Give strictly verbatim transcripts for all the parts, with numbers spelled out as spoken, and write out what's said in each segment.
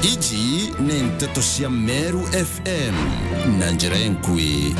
Iji ni nteto cia Meru F M na njira enkui.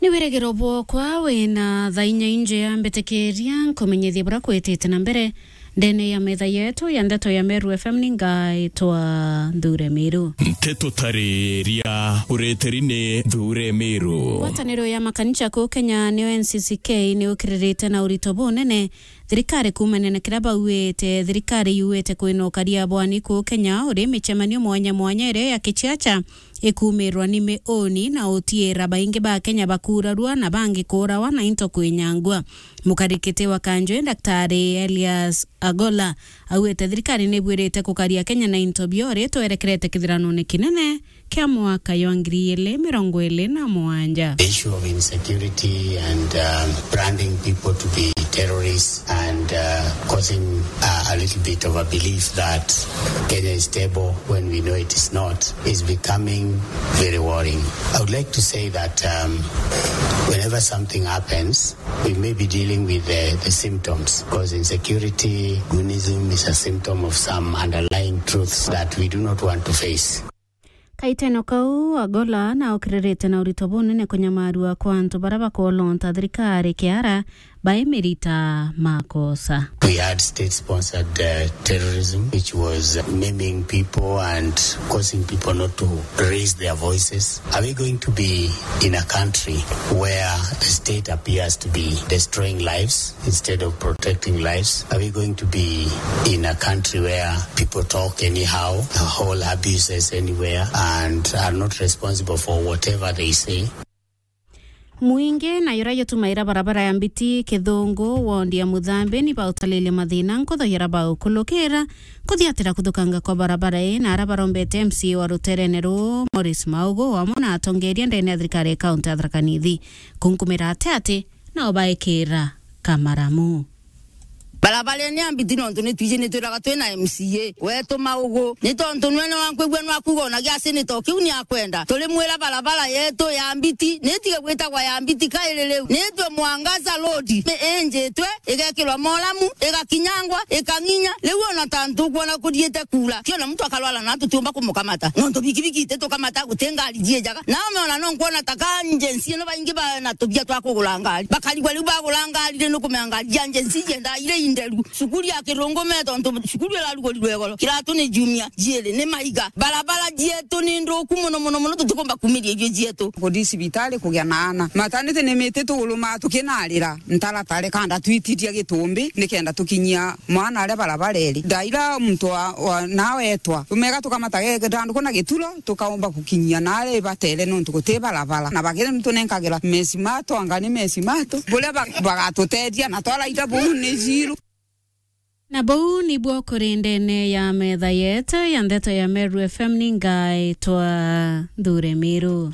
Ni wirigiro bwokwa wina thaa inya injea, mbitikiria nkumenyithie buria kwitite na mbere ndene ya metha yetu ya ndeto ya Meru F M. Ni ngaitwa Nthure Miru. Nteto tariria ureteri ni Nthure Miru. Ngwataniro ya makanisa kuu Kenya niyo N C C K ni ukiririte na urito bunene thirikari kuumania na kiria bauite. Thirikari yuite kwina ukaria bwani kuu Kenya uri micemanio mwanya mwanya iria ya kichacha ikuumirwa ni miuni na utiira baingi ba Kenya bakurarua na bangi kuurawa na into kwinyangua. Mukarikiti wa Kanjwe, Daktari Elias Agola, auite thirikari ni ibwirite kukaria Kenya na into biori twerekerete kithiranone kinene kia mwaka jwa ngiri igiri mirongo iri na mugwanja. The issue of insecurity and, um, branding people to be terrorists and, uh, causing, uh, a little bit of a belief that Kenya is stable when we know it is not is becoming very worrying. I would like to say that, um, whenever something happens, we may be dealing with the, the symptoms, because insecurity, goonism is a symptom of some underlying truths that we do not want to face. Kaiteno kau, Agola na ukiririte na urito bunene kunyamarua kwa antu baria bakolonta thirikari kiara baimirita makosa. We had state-sponsored, uh, terrorism, which was maiming people and causing people not to raise their voices. Are we going to be in a country where the state appears to be destroying lives instead of protecting lives? Are we going to be in a country where people talk anyhow, hold abuses anywhere, and are not responsible for whatever they say? Mwingi na yuria yutumaira barabara ya Mbiti Kithungu, wondi ya Muthambi, ni bautaliirie mathina nkutho yuria baukulukira kuthiatira kuthukanga kwa barabara ii, na aria barombete M C A wa ruterene ruu, Maurice Maugu, wamwe na atongeria ndene ya thirikari ya kaunti ya Tharaka Nithi kunkumira ati ati nao baikira kamaramu. Barabarene ya Mbiti nontu ni twiji ni twiraga twina M C A wetu Maugu, ni tontu nwe ni wankwigua nwakuga ona gia senator kiu ni akwenda. Turimwira barabara yetu ya Mbiti ni itige gwitagwa ya Mbiti kairi riu, ni itwe Mwangaza Road, ni injitwe, igekirwa moramu, igakinyangwa, ikang'inya. Riu ona ta ntukwona kuthiite kuura, ti ona muntu akarwara na tutiumba kumukamata, nontu bikibiki ititukamata, guti ngari jiijaga. Nao meona no nkwona ta ka agency ino baingi bana tubia twa kugura ngari, bakarigwa riu bagura ngari ri, nukumenya ngari cia agency iendaa iri inderu. Cukuru ya Kirungu me tontu cukuru irarugurirwe igoro, kiratu ni jumia, jiiri ni maiga. Barabara jietu ni nthuku mono, mono, mono, tutikumba kumiria irio jietu. Kuthi cibitari kugia na ana. Matanite ni miti tuguru ma tukinarira ntaratare kanda twitiria gitumbi nikenda tukinyia mwana aria barabara iri. Ndaira muntu wa, wa, nawetwa. Tumega tukamata ge-, githanduku na gituro, tukaumba gukinyia naria ibatere nontu guti barabara. Na bagire nitunenkagira mesimato, anga ni mesimato. Buria ba-, bagatutethia na twaraira buu ni jiru. Na buu nibwo kuri ndene ya metha yetu ya ndeto ya Meru F M. Ni ngaitwa Nthure Miru.